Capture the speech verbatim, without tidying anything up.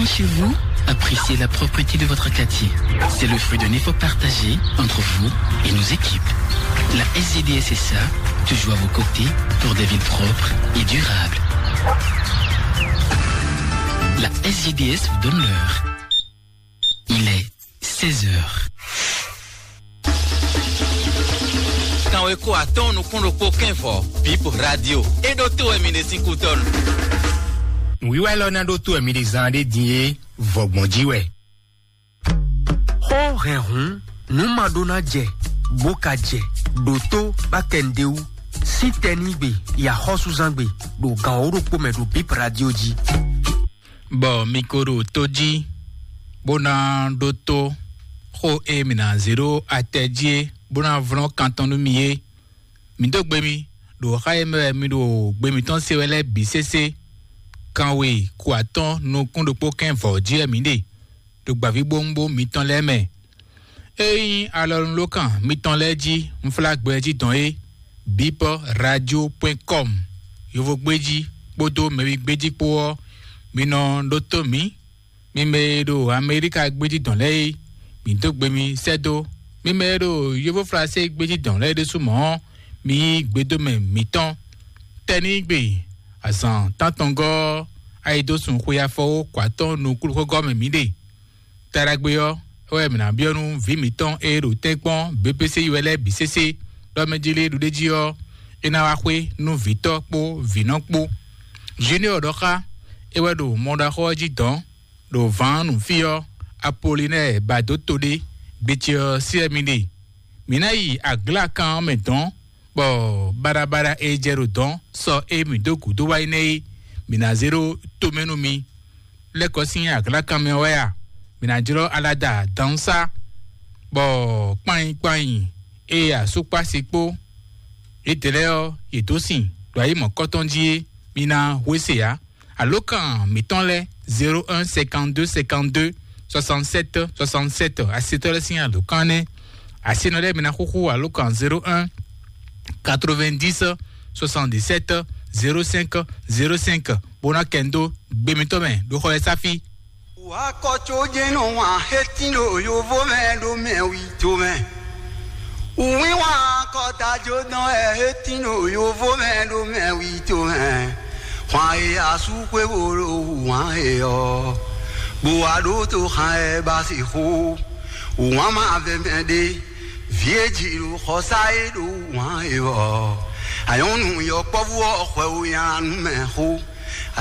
Chez vous, appréciez la propreté de votre quartier. C'est le fruit d'un effort partagé entre vous et nos équipes. La S G D S S A, toujours à vos côtés pour des villes propres et durables. La S G D S vous donne l'heure. Il est seize heures. Kanweko atɔ́ɔ́n nukún ɖokpó kɛ́nvɔ, Bip Radio. É ɖótó wɛ mi ɖe sín kútɔ́nu. Nǔwiwa élɔ́ ná ɖótó wɛ mi ɖe zán ɖé din é, vɔgbɔn jí wɛ. Xó hɛn hǔn, nǔ ma ɖó ná jɛ, bó ka jɛ, ɖǒtó bá kɛ nǔɖé wú, sín tɛnígbe, yi axɔ́súzángbe, ɖo gan wǒ ɖokpó mɛ ɖo Bip Radio jí. Bɔ mi ko ɖo tó jí, bó ná ɖótó xó e mǐ ná zé ɖó atɛ jí é, bó ná vlɔ́n kan tɔn nú mi é. Mǐ dó gbe mi, ɖo xá e mɛ wɛ mi ɖo gbe mǐtɔn se wɛ lɛ́ɛ bǐ sésé. Kanwe ku atɔ́ɔ́n nukún ɖokpó kɛ́n vɔ̌ jí wɛ mǐ ɖe, ɖo gbǎvíbówúnbó mitɔn lɛ́ɛ mɛ. Ényí alɔnulókan mitɔn lɛ́ɛ jí unflágbɛ jí dɔn é, bipɔ radio point com, yovogbéjí kpódó mɛwigbéjí kpó ɔ́, mi nɔ ɖótó mǐ. Mi mɛ e ɖo Amelíka gbéjí dɔn lɛ́ɛ é, mǐ dó gbe mi sɛ́ dó. Mi mɛ e ɖo Yovóflasé gbéjí dɔn lɛ́ɛ ɖésú mɔ̌ ɔ́, mi yí gbedómɛ mǐtɔn. Tɛnígbe azǎn tántɔngɔ́ ɔ́, ayi dó sun xwe afɔwó kɔ atɔ́ɔ́n nukúnxɔ́gɔ́ mɛ mǐ ɖe. Taɖagbe ɔ́, é wɛ mǐ ná byɔ́ nú vǐ mǐtɔn e ɖo tɛ́nkpɔ́n B P C yi wɛ lɛ́ɛ bǐ sésé, ɖɔ mɛ jí lé ɖuɖéjí ɔ́, é ná wá xwé nú vǐtɔ́ kpó vǐnɔ kpó. Junior ɖɔ xá é wɛ ɖo mɔɖaxó ɔ́ jí dɔ̌n, ɖo vǎn nǔ fí ɔ́, Apolinɛ́ɛ ba dó to ɖé, gbe ce ɔ́ sí wɛ mi ɖe. Mǐ ná yi aglákan ɔ́ mɛ dɔ̌n, bɔ baɖabaɖa e jɛ ɖo dɔ̌n sɔ e mǐ dó gǔdo wá yi nɛ́ é, mǐ ná zé ɖó tomɛ nú mi. Lɛ́kɔ sín aglákan mɛ wɛ a? Mǐ ná jlɔ́ alada dǎnsá, bɔ kpányi kpányi e asúkpási kpó yědɛɛ lɛ́ɛ ɔ́, yě dó sin ɖo ayǐ mɔ̌kɔtɔn jí é, mi ná hwesé ǎ. Alǒkan mǐtɔn lɛ́ɛ zéro un cinquante-deux cinquante-deux soixante-sept soixante-sept, asetɔ́ lɛ́ɛ sín alǒkan nɛ́. Asinɔ lɛ́ɛ mi ná xúxú alǒkan zéro un quatre-vingt-dix soixante-dix-sept zéro cinq zéro cinq, bó ná kɛ n dó gbe mitɔn mɛ ɖo xɔ ɛ sáfí. Wǎ kɔ có jɛ́n nɔ wǎn hétín ɖo yovo mɛ ɖo mɛ wi tomɛ. Wínwán kɔta jó dán wɛ é tín ɖo yovo mɛ ɖo mɛ wi tomɛ. Hwan e asú xwé bo ɖo wǎn e ɔ́, bó wá ɖó tó xan ɛ ba sixú. Wǎn ma vɛ mɛ ɖé, vǐ e jǐ ɖo xɔsá e ɖo wǎn e ɔ́. Anyɔ́nu yɔkpɔ́vú ɔ́ xwɛ wo nyalanú mɛ xó.